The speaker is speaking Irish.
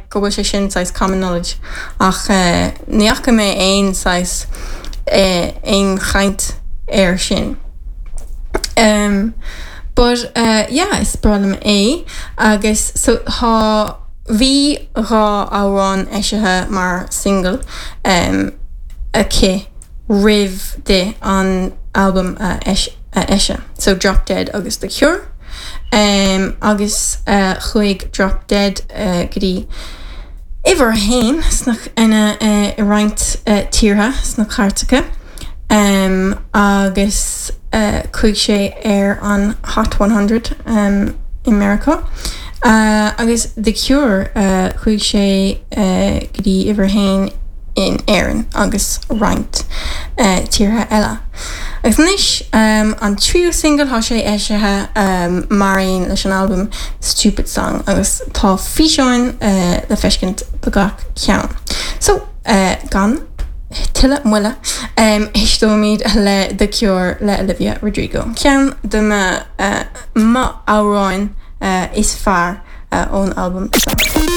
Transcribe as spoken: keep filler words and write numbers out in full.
go bhfuil sé sin saghas common knowledge ach uh, ní fhaca mé aon saghas uh, aon chaint air sin. Um, but uh, yeah, is breá liom é agus so tá bhí dhá amhrán eisithe mar single um, aici roimh di an album uh, eis, uh, eisiúint. So Drop Dead agus The Cure. Um, agus uh, chuaigh Drop Dead uh, go dtí uimhir a haon sna ina uh, i roinnt uh, tíortha sna cairteacha. Um, agus uh, chuaigh sé ar an Hot one hundred um, i Meiriceá. Uh, agus The Cure uh, chuaigh sé uh, go dtí uimhir a haon in Éirinn agus roinnt uh, tíortha eile. Agus anois um, an tríú single tá sé eisithe um, mar aon leis an album Stupid Song agus tá físeáin uh, le feiscint do gach ceann. So uh, gan tuilleadh moille um, éisteoimid le The Cure le Olivia Rodrigo. Ceann de mo uh, mo amhráin uh, is fearr uh, ón album seo.